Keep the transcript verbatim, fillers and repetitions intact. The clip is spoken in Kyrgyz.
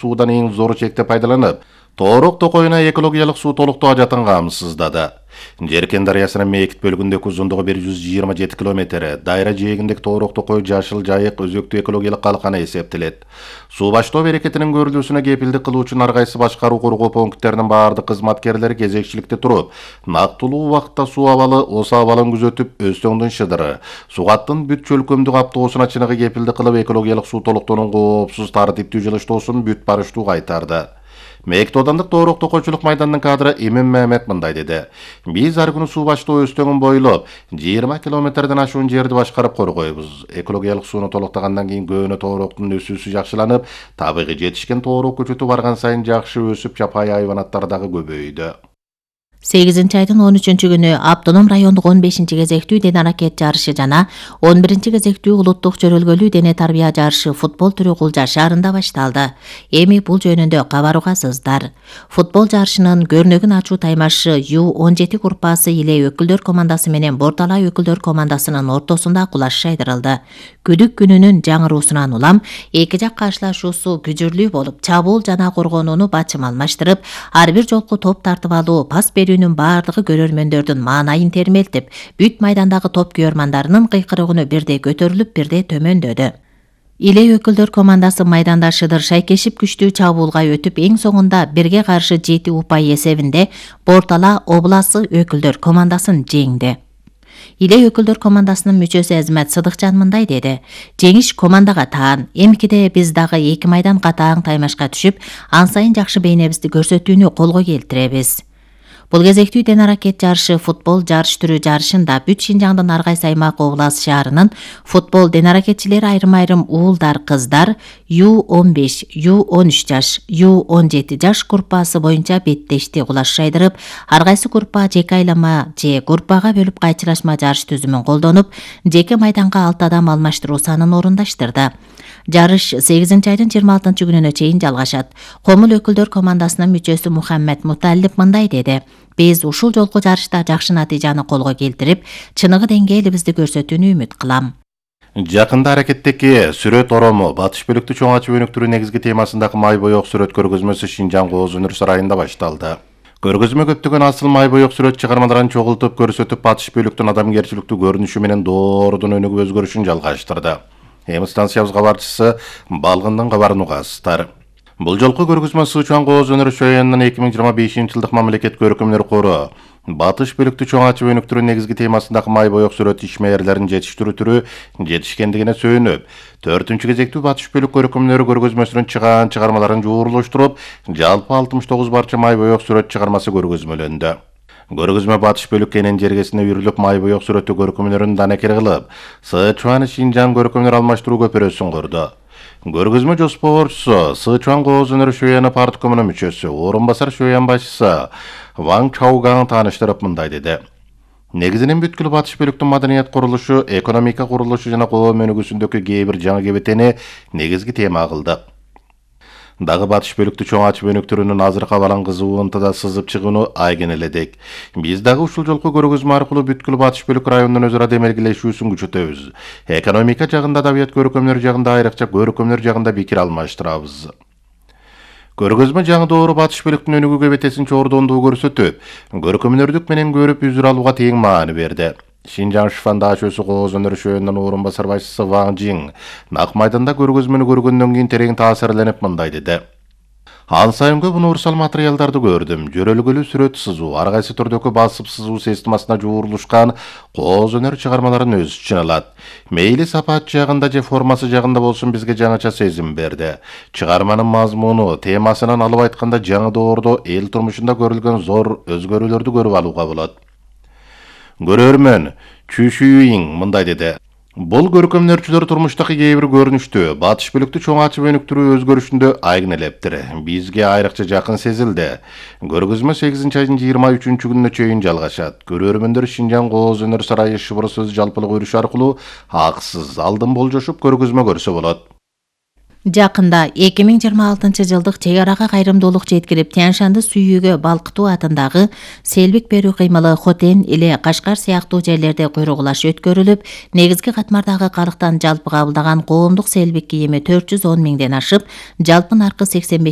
суудан эң зор чекте пайдаланып, Тоорок токойуна экологиялык суу толуктоо ажатын камсыздады. Жеркен дарыясынын мээкит бөлүгүндөгү узундугу бир жүз жыйырма жети километр, дайра жээгиндеги Тоорок токой жашыл жайык өзөктүү экологиялык калканы эсептелет. Суу баштоо берекетинин көрүлүүсүнө кепилдик кылуу үчүн ар кайсы башкаруу коргоо пункттеринин баардык кызматкерлери кезекчиликте туруп, нактылуу убакытта суу абалы, ос абалын күзөтүп, Өзтөңдүн Шыдыры, Сугаттын бүт чөлкөмдүк аптоосуна чыныгы кепилдик кылып, экологиялык суу толуктоонун коопсуз, тартиптүү жылыштоосун бүт барыштуу кайтарды. Мээкит оодандык Тоорок токойчулук майданынын кадры Эмин Мehmet мындай деди. Биз ар күнү суу баштоо Өзтөңүн бойлоп жыйырма километрден ашуун жерди башкарып коргойбуз. Экологиялык сууну толуктагандан кийин көөнө Тоороктун өсүүсү жакшыланып, табигый жетишкен Тоорок көчөтү барган сайын жакшы өсүп, жапайы хайванаттар дагы көбөйдү. сегизинчи айдын он үчүнчү күнү Автоном райондук он бешинчи кезектүү дене аракет жарышы жана он биринчи кезектүү улуттук чөрөлгөлүү дене тарбия жарышы футбол түрү Кулжа шаарында башталды. Эми бул жөнүндө кабар угасыздар. Футбол жарышынын көрнөгүн ачуу таймашы Ю он жети группасы Иле өкүлдөр командасы менен Бортала өкүлдөр командасынын ортосунда кулаш шайдырылды. Күдүк күнүнүн жаңыруусунан улам эки жак каршылашуусу күжүрлүү болуп, чабуул жана коргонууну бачым алмаштырып, ар бир жолку топ тартып алуу, пас берүүнүн баардыгы көрөрмөндөрдүн маанайын термелтип, бүт майдандагы топ күйөрмандарынын кыйкырыгыны бирде көтөрүлүп, бирде төмөндөдү. Иле өкүлдөр командасы майданда Шыдыр шайкешип күчтүү чабуулга өтүп, эң соңунда бирге каршы жети упай эсебинде Бортала обласы өкүлдөр командасын жеңди. Иле өкүлдөр командасынын мүчөсү Азмат Сыдыкжан мындай деди. Жеңиш командага таан. Эмкиде биз дагы эки майдан катаң таймашка түшүп, ан сайын жакшы бейнебизди көрсөтүүнү колго келтиребиз. Бул кезектүү дене аракет жарышы футбол жарыш түрү жарышында бүт Шинжаңдын ар кайсы аймак облас шаарынын футбол дене аракетчилери айрым-айрым уулдар, кыздар Ю он беш, Ю он үч жаш, Ю он жети жаш группасы боюнча беттешти кулаш шайдырып, ар кайсы группа жеке айлама же группага бөлүп кайчылашма жарыш түзүмүн колдонуп, жеке майданга алты адам алмаштыруу санын орундаштырды. Жарыш сегизинчи айдын жыйырма алтынчы күнүнө чейин жалгашат. Комул өкүлдөр командасынын мүчөсү Мухаммед Муталип мындай деди. Биз ушул жолку жарышта жакшы натыйжаны колго келтирип, чыныгы деңгээлибизди көрсөтүүнү үмүт кылам. Жакында аракеттеки сүрөт орому Батыш бөлүктүү чоң ачып өнүктүрүү негизги темасындагы май боек сүрөт көргөзмөсү Шинжаң Кооз өнөр сарайында башталды. Көргөзмө көптөгөн асыл май боек сүрөт чыгармаларын чогултуп көрсөтүп, Батыш бөлүктүн адамгерчиликтүү көрүнүшү менен доорудун өнүгүп өзгөрүшүн жалгаштырды. Эми станциябыз кабарчысы Балгындын кабарын угасыздар. Бул жолку көргөзмө Сычуан Кооз өнөр шоянынын эки миң жыйырма бешинчи жылдык мамлекет көркөмдөр кору Батыш бөлүктүү чоң ачып өнүктүрүү негизги темасындагы май боек сүрөт ишмерлерин жетиштирүү түрү жетишкендигине сөөнүп, төртүнчү кезектүү Батыш бөлүк көркөмдөрү көргөзмөсүнүн чыгаан чыгармаларын жуурулуштуруп, жалпы алтымыш тогуз барча май боек сүрөт чыгармасы көргөзмөлөндү. Көргөзмө Батыш бөлүк кенен жергесине үрүлүп, май боек сүрөттүү көркөмдөрүн данекер кылып, Сычуан Шинжаң көркөмдөр алмаштыруу көпүрөсүн курду. Көргөзмө жоспорчусу Сычуан Кооз өнөр шөяны парткомунун мүчөсү, орун басар шөян башчысы Ван Чаугаң тааныштырып мындай деди. Негизинен бүткүл Батыш бөлүктүн маданият курулушу, экономика курулушу жана коом өнүгүүсүндөгү кээ бир жаңы кебетени негизги тема кылдык. Дагы Батыш бөлүктүү чоң ачып өнүктүрүүнүн азыркы абалын кызуу ынтыда сызып чыгууну айгинеледик. Биз дагы ушул жолку көргөзмө аркылуу бүткүл Батыш бөлүк районунун өзара демелгилешүүсүн күчөтөбүз. Экономика жагында, адабият көркөмдөр жагында, айрыкча көркөмдөр жагында пикир алмаштырабыз. Көргөзмө жаңы доору Батыш бөлүктүн өнүгүү кебетесин чордондуу көрсөтүп, көркөмдөрдүк менен көрүп үзүр алууга тең маани берди. Шинжаң Шифанда Ашөсү Кооз өнөр шөөнүнүн орун басар башчысы Ван Жиң нак майданда көргөзмөнү көргөндөн кийин терең таасирленип мындай деди. Ан сайын көп универсал материалдарды көрдүм. Жөрөлгөлүү сүрөт сызуу, ар кайсы түрдөгү басып сызуу системасына жуурулушкан Кооз өнөр чыгармаларын өз ичине алат. Мейли сапат жагында же формасы жагында болсун, бизге жаңыча сезим берди. Чыгарманын мазмуну, темасынан алып айтканда жаңы доордо эл турмушунда көрүлгөн зор өзгөрүүлөрдү көрүп алууга болот. Көрөрмөн Чүшүйиң мындай деди. Бул көркөмдөрчүлөр турмуштагы кээ бир көрүнүштү Батыш бөлүктү чоң ачып өнүктүрүү өзгөрүшүндө айгинелептир. Бизге айрыкча жакын сезилди. Көргөзмө сегизинчи айдын жыйырма үчүнчү күнүнө чейин жалгашат. Көрөрмөндөр Шинжаң Кооз өнөр сарайы шыбыр сөз жалпылык өрүш аркылуу аксыз алдын болжошуп көргөзмө көрсө болот. Жакында эки миң жыйырма алтынчы жылдык чек арага кайрымдуулук жеткирип, Тянь-Шанды сүйүүгө балкытуу атындагы селбик берүү кыймылы Хотен эле Кашкар сыяктуу жерлерде куйругулаш өткөрүлүп, негизги катмардагы калктан жалпы кабылдаган коомдук селбик кийими төрт жүз он миңден ашып, жалпы наркы сексен беш